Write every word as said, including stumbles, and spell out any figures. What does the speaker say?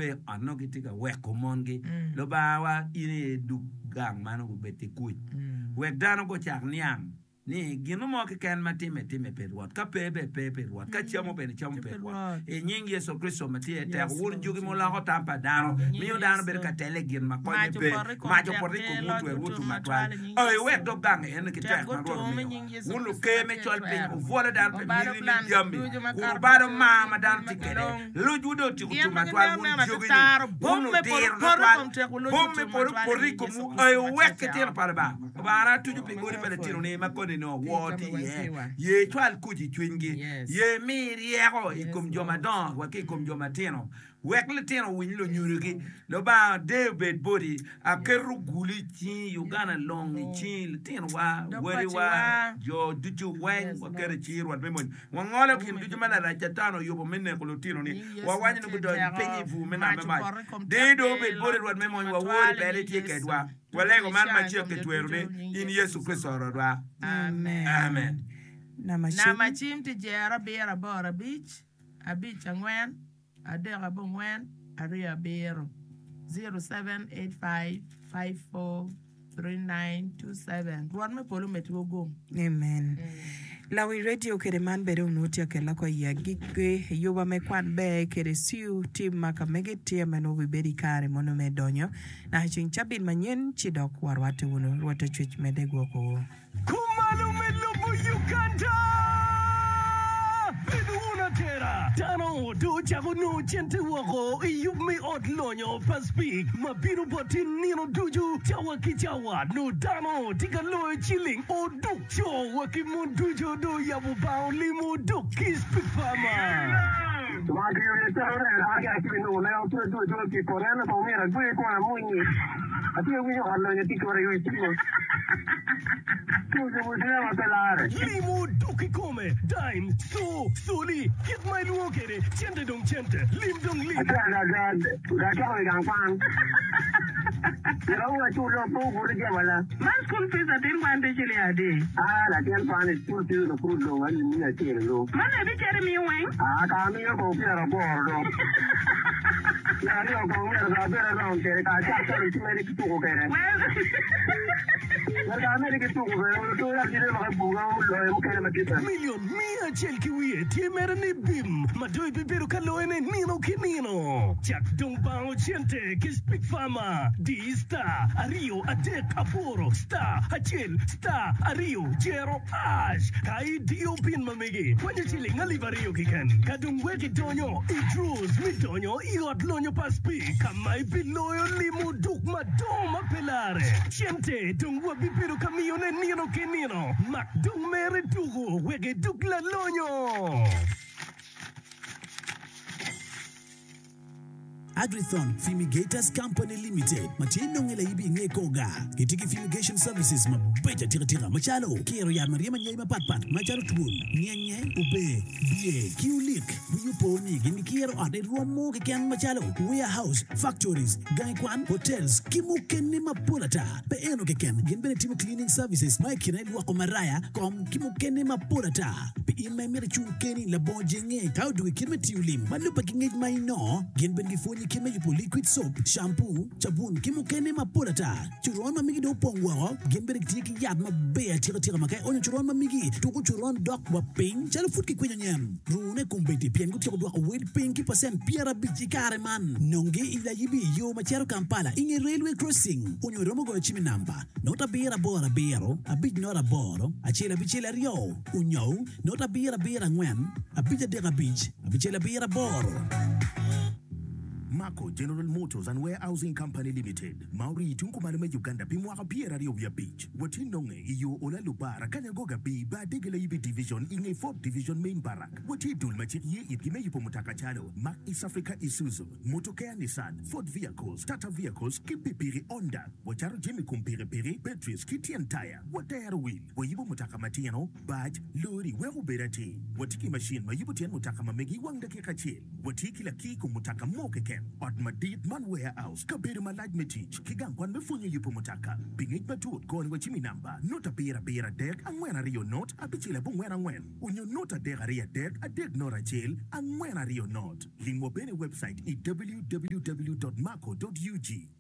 pe ot nongo gitye ka weko mongi. Lubangawa, in aye idug gang man obed ki kuc. Wek dano gucak niang ni gin mo keken ma timme, timme pi Rwot. Ka pe bene pe pi Rwot. Ka camo bene camo pi Rwot. I nying Yecu Kricito ma tye i teko, wun jugi muloko tam pa dano, miyo dano bedo ka telle i gin ma konye pe. Mac opoto i komwu, otwerowu otum matwal. A iwek dog gang eno ki tek ma Rwot omiyo. Wun luker me col piny, wubwolo dano pi miti me jami, kun wubalo mar ma dano tye kwede. Locwu dong otyeko tum matwal, wun jogi-ni, wun ludiro twatwal. Bom me polo opoto i komwu, a iwek litino pa Lubanga. Lubanga atuco pi odi pa litinoni ma koni nongo wor tye iye. Ye icwal kuc i cwinygi. Ye imi ryeko i kom jo madongo wa ki i kom jo matino. Wek litino owiny lunyodogi. Lubanga deyo obed boti. Aketo gulu i cingi, Uganda long i cingi, litinowa, wadiwa, jo ducu weng waketo i cingi Rwot me mony. Wangolo gin ducu ma Larac Catan oyubo me neko lutinoni. Wawaco ni gudony piny i bur me nam me mac. Deyo dong obed boti Rwot me mony, wawori pien itye kedwa. Walego man macek ki tweroni, in Yecu Kricito Rwotwa. Amen. Namba cim tye jero abiro aboro abic abic angwen adek abongwen aryo abiro, zero seven eight five five four three nine two seven. Rwot me polo omedwu gum. Amen. Lawi radio kede man bene onongo tye akela ko i agikki yuba me kwan ber kede siu tim ma ka mege tye ma nongo bibedo i kare mono me donyo naka ceng cabit manyen ci dok warwatte wunu. Rwot Acwec medde gwokowu. Kumalo me lobo Uganda! Bed wun atera! Dano dong ocako nongo cente woko i yub me ot lonyo pa Speke ma bino boti nino ducu cawa ki cawa. Nongo dano tye ka loyo ciling oduk. Co wa ki mon ducu dong oyabo bang olimo oduk ki Speke Farmer. Limo dok kikome, dime, co, coli, kit ma ilwongo kwede, cente dong cente, lim dong lim. Milion miya acel ki wiye tye mere ni bim ma dong ibibedo ka loyone nino ki nino. Cak dong bango cente ki Speak Farmer. Di star aryo adek aboro star acel star aryo jero ash ka idiyo pin ma megi kwanyo ciling alip aryo keken. Ka dong wek idonyo i draws me donyo i ot lonyo pa Speak ka ma ibiloyo limo duk madongo ma pe larre. Cente dong wabibedo ka miyone nino ki nino. Mak dong mere tuku wek iduk lalonyo. Agrithon Fumigators Company Limited ma tye nonge laibi i nge kor gar gitye ki fumigation services mabeco atika tika macalo kiro yat ma ryemo anyai mapat pat macalo twol, nyenye, ober, biye ki olik. Wii opo ni gin gikiro ot i rwom mo keken macalo warehouse, factories, gangi kwan, hotels ki mukene mapol ata. Pe eno keken, gin bene timo cleaning services ma i kine lwoko maraya, kom ki mukene mapol ata. Pi in ma imito icung keni labongo jenge ka odwogo i kit me tiyo lim ma lubbe ki ngec ma inongo, gin bene gipwonyi kit me yubo liquid soap, shampoo, cabun ki mukene mapol ata. Coron ma migi dong opong woko, gin bene gitye ki yat maber atika tika ma ka ionyo coron ma migi, tuko coron dok wa piny calo pud kikwinyo nyen. Rune kombeddi pien gutyeko dwoko wel piny ki pacent pyerabic i kare man. Nongi i Layibi i yo ma cito Kampala i nge Railway Crossing onyo iromo goyo cim i namba not abiro aboro abiro abic not aboro acel abicel aryo onyo not abiro abiro angwen abic adek abic abicel abiro aboro. Mako General Motors and Warehousing Company Limited ma orii tung kumalo me Uganda pi mwaka pyeraryo wiye abic. Watye nonge i yo Ola Lubara, Kanyagoga B, Bar Dege Layibi Division i nge Fourth Division Main Barrack. Watye i dul ma cik ye itgi me yubo mutoka calo Mack East Africa Isuzu, Motokea Nissan, Ford Vehicles, Tata Vehicles ki pikipiki Honda. Wacato jami kom pikipiki, batteries ki tyen taya. Watero wil, wayubo mutoka matino, bac, lori wek obed atir. Watye ki macin ma yubo tyen mutoka ma megi i wang dakika acel. Watye ki lakir i kom mutoka mo keken. Ot madit man warehouse, kabedo malac me tic, ki gang kwan me pwonyo yubo mutoka. Pi ngec matut, goni wa cim i namba not abiro abiro adek angwen aryo not abicel abongwen angwen onyo not adek aryo adek adek not acel angwen aryo not. Lim wa bene i webcait i www dot maco dot ug.